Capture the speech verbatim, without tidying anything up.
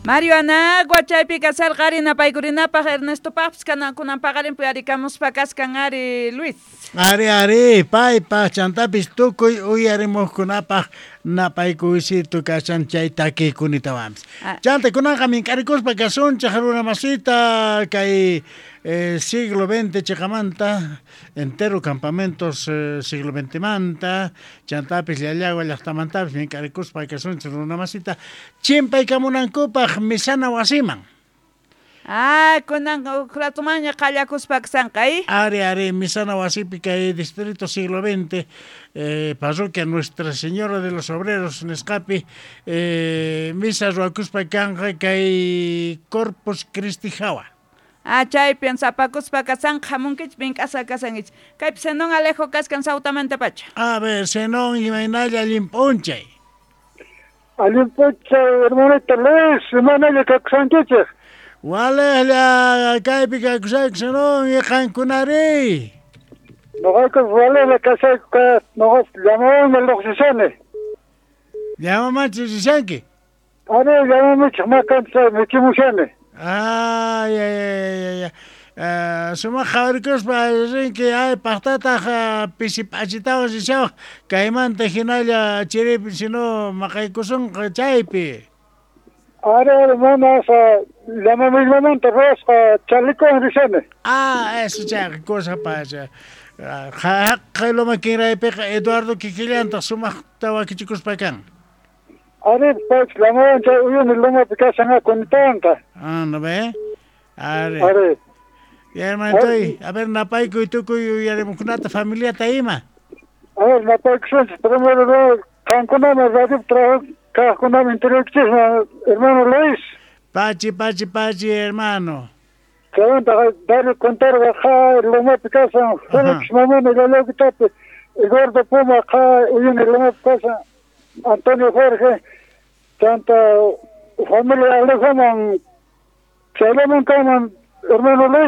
Mario Anagua chaypi kasarqa ari napaykurinapaq Ernestopaqpis kana kunan paqarin puyarikamuspa kaskan ari, Luis. Ari, ari, paypaq chantapis tukuy uyarimuqkunapaq napaykuysito kashan chay takiykunitawanpis. Ah. Chanta kunanqa mink'arikuspa kasunchik runa masita kay eh, siglo veinte chiqamanta entero campamentos eh, siglo veinte manta chantapis Llallagua llaqtamantapis mink'arikuspa kasunchik runa masita chimpaykamunankupaq misana wasiman. Ah, kunan uj ratumanña qallakuspa kasanqa, eh? Ari, ari, misana wasipi kay distrito siglo veinte, eh, parroquia Nuestra Señora de los Obreros nisqapi eh, misa ruwakuspa kanqa kay Corpus Christi hawa. Ah, chaypi sapakuspa kasanqa hamunkichik mink'asqa kasankichik. Kaypi Zenón Alejo kaskan Sautamanta pacha. A ver, Zenón, imaynalla allin p'unchay. Allin p'unchay, hermanito Luis, imaynalla kakusankichik. Walejlla kaypi kakusayku, Zenón, y qankunari. Noqayku walejlla kasayku, ka noqa llamawanmi lluqsishani. Llamamanchu rishanki? Ari, llamamichik makanta michimushani. Ay, ay, ay, ay, ay. Uh, sumaq qhawarikuspa rinki, ay paqtataq uh, pisi p'achitawan rishawaq kaymanta hinalla chiripi sino maqaykusunqa chaypi. Ari, ari, mana asa llamamillamanta ruwasqa chalikuwan rishani. Ah, eso chayqa cosa pacha. Haqay loma kinraypiqa Eduardo kikillantaq sumaqta wakichikuspa kan. Ari, paypis llamawan chay uyuni lomapi kashan kunitawanqa. Ah, ¿no ve? Ari. Ari. Ya, hermanitoy, a ver, napaykuy tukuy uyarimuqkunata familiata ima. A ver, napaykusunchik primero qankunaman radio trabajo kaqkunaman interiorkichisman, hermano Luis. Pachi, pachi, pachi, hermano. Chaymanta Dario Contarga qa lomapi kasan, Felix Mamani Llallagutapi, Eduardo Puma qa uyuni lomapi kasan, Antonio Jorge, chanta familia Alejoman, chayllaman kanman, hermano Luis.